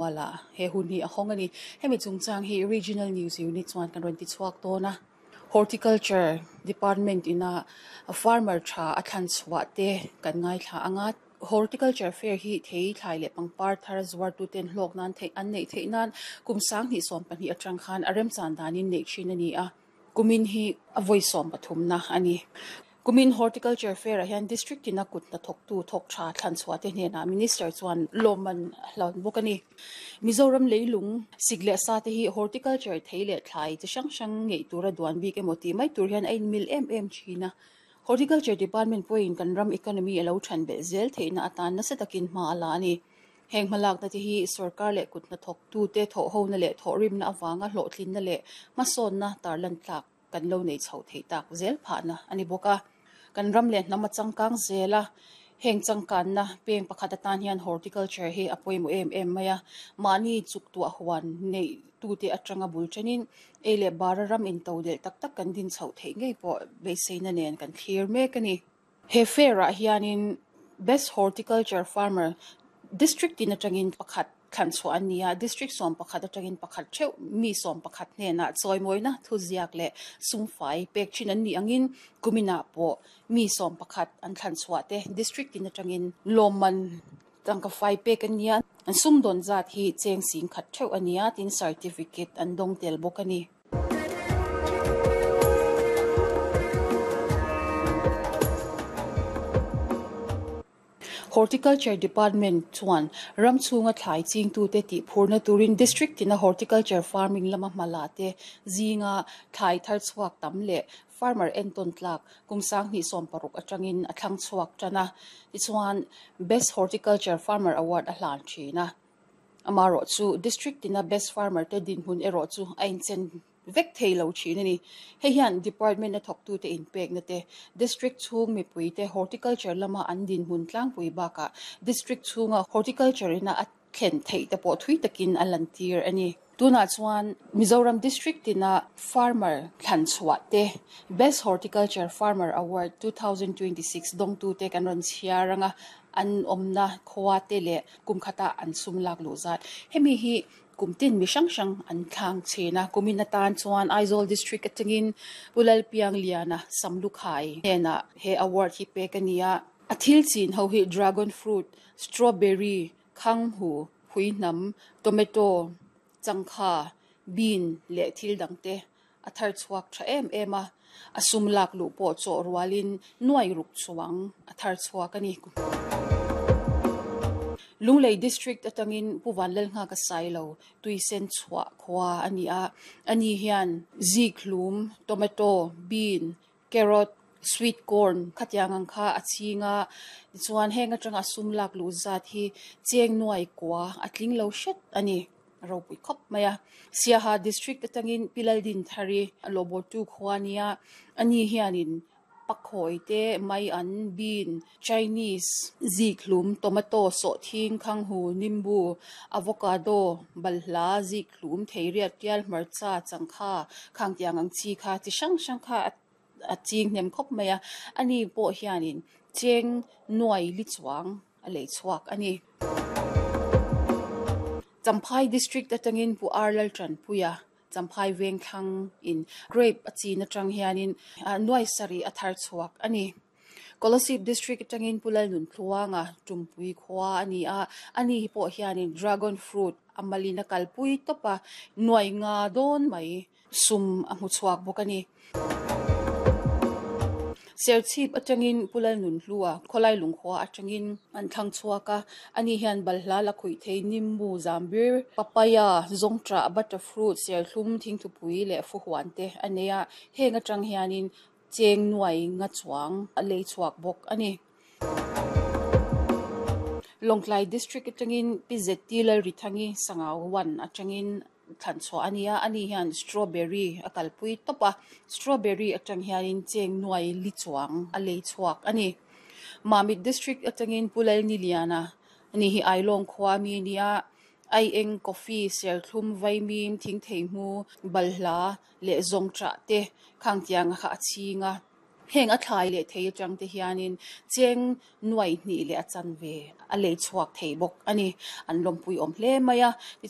Mualah he hun hi a hawng a ni. Hemi chungchang hi Regional News Unit chuan kan rawn ti chhuak dawn a. Horticulture Department ina farmer tha a thlan chhuah te kan ngaithla ang a. Horticulture Fair hi thei thlai leh pangpar thar zuartuten hlawk nan theih an neih theih nan kum 2012 atang khan a remchan danin neih thin a ni a. Kumin hi a vawi sawmpathumna a ni. Kumin Horticulture Fair-ah hian District tina kut hnathawktu thawk tha thlan chhuah te hnenah Minister chuan lawmman a hlan bawk a ni. Mizoram leilung sik leh sa te hi Horticulture thei leh thlai chi hrang hrang ngeih tura duan bik emaw tih mai tur hian a inmil em em thin a. Horticulture Department pawhin kan ram economy a lo than belh zel theihna atan nasa takin hma a la a ni. Heng hmalakna te hi sorkar leh kut hnathawktute thawhhona leh thawhrimna avanga hlawhtlinna leh hmasawnna tarlan tlak kan lo nei chho theih tak zel phahna a ni bawk a. Kan ram leh hnam a changkang zel a, heng changkanna peng pakhat atan hian horticulture hi a pawimawh em em mai a. Mahni chuk tuah huan neih tute atanga bul thenin ei leh bara ram intodelh tak tak kan din chhoh theih ngei pawh beiseina nen kan thlir mek a ni. He fair-ah hianin Best Horticulture Farmer District tin atangin pakhat thlan chhuah an ni a, District 11 atangin pakhat theuh mi 11 hnenah chawimawina thuziak leh sumfai pek thin an nih angin kuminah pawh mi 11 an thlan chhuah te District tin atangin lawmman tangka fai pek an ni a, an sumdawn zat hi cheng sing khat theuh a ni a, tin certificate an dawng tel bawk a ni. Horticulture Department chuan ram chhunga thlai chingtute tih phurna turin District tina Horticulture Farming lama hma la te zinga thlai thar chhuak tam leh farmer entawn tlak kum 2016 atangin a thlang chhuak tan a. Tichuan, Best Horticulture Farmer Award a hlan thin a. Amaherawh chu District tina Best Farmer te dinhmun erawh chu a inchen vek thei lo thin a ni. Hei hian Department a thawktute inpekna te, District chhung mipui te Horticulture lama an dinhmun tlangpui bakah District chhunga Horticulture ina a thlen theih te pawh thui takin a lantir a ni. Tunah chuan Mizoram District tina Farmer thlan chhuah te, Best Horticulture Farmer Award 2026 dawngtute kan rawn chhiar ang a, an awmna khua te leh kum khatah an sum lak luh zat. Hemi hi kum tin mi hrang hrang an thlang thin a, kumin atan chuan Aizawl District atangin Pu Lalpiangliana Samlukhai hnenah he award hi pek a ni a. A thil chin ho hi dragon fruit, strawberry, khanghu, phuihnam, tomato, changkha, bean leh thil dangte a thar chhuak tha em em a, a sum lak luh pawh chawh rualin nuai ruk chuang a thar chhuak a ni. Lunglei District atangin Pu Vanlalnghaka Sailo tuisen chhuah khua a ni a, ani hian zikhlum, tomato, bean, carrot, sweet corn khatiang ang kha a ching a, tichuan heng atanga a sum lak luh zat hi cheng nuai kua a tling lo hret a ni. A ropui khawp mai a. Siaha District atangin Pi Laldinthari a lawhbawltu khua a nia, ani hianin pakhawi te, mai an, bean, Chinese, zikhlum, tomato, sawhthing, khanghu, nimbu, avocado, balhla, zikhlum, theiriat, tial, hmarcha, changkha, khangtiang ang chi kha chi hrang hrang kha a ching hnem khawp mai a, ani pawh hianin cheng nuai li chuang a lei chhuak a ni. Champhai District atangin Pu Ar Laltanpuia Champhai Vengthlang in grape a chin atang hianin nuai sarih a thar chhuak a ni. Kolasib District atangin Pu Lalnunthluanga Tumpui khua a ni a, ani hi pawh hianin dragon fruit a malin a kalpui tawp a, nuai nga dawn mai sum a hmu chhuak bawk a ni. Serchhip atangin Pu Lalnunhlua khawlai lungkhua atangin an thlang chhuak a, ani hian balhla la khuih thei nimbu zambir, papaya, zawngṭah, butterfruit, serthlum, thingthupui leh fuhuan te a nei a, heng atang hianin cheng nuai nga chuang a lei chhuak bawk a ni. Lawngtlai District atangin Pi ZT Lalrithangi Sangau 1 atangin thlan chhuah a ni a, ani hian strawberry a kalpui tawp a, strawberry atang hianin cheng nuai li chuang a lei chhuak a ni. Mamit District atangin Pu Lalniliana ani hi Ailawng khua mi a ni a, aieng, coffee, serthlum, vaimim, thingthei hmu, balhla leh zawngṭah te khangtiang kha a chhing a. Heng a thlai leh thei atang te hianin cheng nuai hnih leh a chanve a lei chhuak thei bawk a ni. An lawmpui awm hle mai a.